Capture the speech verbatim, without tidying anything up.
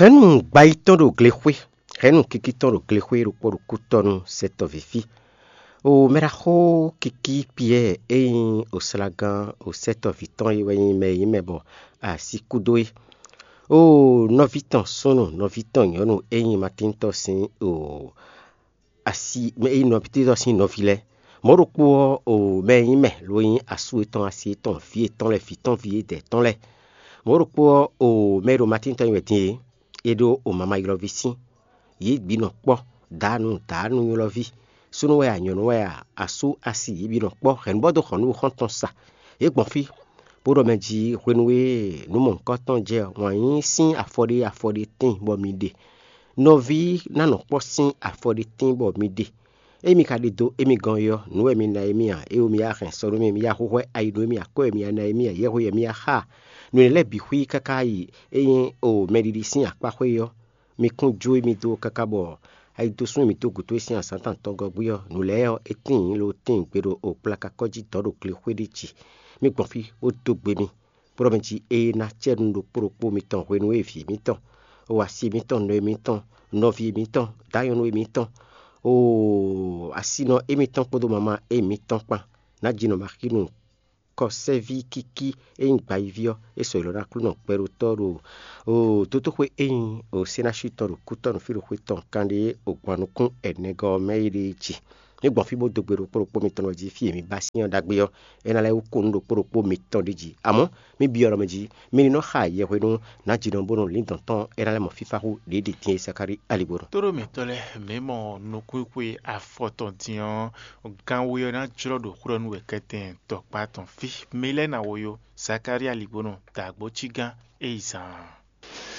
Hɛ̌nnu gbayí tɔn ɖo glexwé, hɛ̌nnu kiki tɔn ɖo glexwé ɖokpó ɖo kútɔ́nú sɛtɔ́ví fí. O mɛɖaxó kiki Piyɛ́ɛ e nyí oslagán o sɛtɔ́ví tɔn é wɛ nyí mɛ e nyí mɛ bɔ asi kú dó é. O nɔví tɔn súnnu, nɔví tɔn nyɔ̌nu e nyí Matíntɔ́ sín o asi mɛ e nyí nɔví tɔn sín nɔví lɛ́ɛ. Mɔ̌ ɖokpó ɔ́, o mɛ e nyí mɛ ló nyí asú yětɔn, asi yětɔn, vǐ yětɔn lɛ́ɛ, vǐ tɔn, vǐ yědɛɛ tɔn lɛ́ɛ. Mɔ̌ ɖokpó ɔ́, o mɛ e ɖo Matín tɔn nyi wɛ din é, é ɖó o mama ylɔ́ví sín. Yě bǐ nɔ kpɔ́, dǎnu dǎnu ylɔ́ví, súnnu wɛ a, nyɔ̌nu wɛ a, asú asi, yě bǐ nɔ kpɔ́ hɛ̌nnu bɔ dó xɔ nǔ xɔ́ntɔn sa. Yě gbɔn fí, bó ɖɔ mɛ jí hwenu e nǔ mɔ̌hunkɔtɔn jɛ ɔ́, wǎn yí sín afɔ ɖé afɔ ɖé tíin bɔ mi ɖe. Nɔví ná nɔ kpɔ́ sín afɔ ɖé tíin bɔ mi ɖe. Ényí mi ka ɖidó émí gɔ́n é ɔ́, nǔ wɛ mi ná émí ǎ, éwo mi yá hɛn sɔ nú mì, mi yá hwíhwɛ́ ayi nú émí, akwɛ́ wɛ mi yá ná émí ǎ, yɛhwe wɛ mi yá xa. Nǔ énɛ́ lɛ́ɛ bǐ xwí káká yi é nyí o mɛɖiɖi sín akpáxwé é ɔ́, mi kún jó émí dó káká bɔ ayi dó sún mì dó gǔdo e sín azǎn tɔn gɔ́gbí ɔ́, nǔ lɛ́ɛ ɔ́, é tíin lo tíin gbe ɖo o kplakakɔ́ jí dɔ̌ ɖo glexwé ɖé jí. Mi gbɔn fí bó dó gbe mi, bó ɖɔ mɛ jí ée ná cɛ nú ɖokpó ɖokpó mitɔn hwenu e vǐ mitɔn, o asi mitɔn, nɔ e mitɔn, nɔví e mitɔn, dǎnyɔ́nú e mitɔn, o asinɔ e mitɔn kpódó mama e mitɔn kpán, ná ji nɔ ma xí nú kɔsɛví kíkí e nyí gbayiví ɔ́, é sɔ yě lɔ ná Aklúnɔ gbɛɖotɔ́ ɖo o dótóxwé e nyí o sénási tɔn ɖo kútɔ́ nú fí ɖo xwé tɔn kanɖé o gbɔn nukún ɛnɛgɔ́ ɔ́ mɛ é ɖée jí. Mi gbɔn fí bó dó gbe ɖokpó ɖokpó mitɔn ɔ́ jí, fí e mi ba sín ɔ́ ɖagbe ɔ́, é ná lɛ́ wú kú nú ɖokpó ɖokpó mitɔn ɖ'é jí. Amɔ̌, mi byɔ́ ɖɔ mɛ jí, mi ní nɔ xa yɛhwenu ná jǐnɔ bónú lǐndɔ̌n tɔn é ná lɛ́ mɔ fífá hú ɖě ɖi din e Sakáli aligbó nɔ. Tóɖó mǐtɔn lɛ́ɛ, mǐ mɔ nukúnxwe afɔ tɔn din ɔ́, gan we ɔ́ ná jlɔ́ ɖo xwlɔ́ nú wɛ kɛtɛn tɔkpá tɔn fí. Mi lɛ́ɛ ná wo yó, Zakalía ligbónɔ dǎgbó cí gán é yi zaan.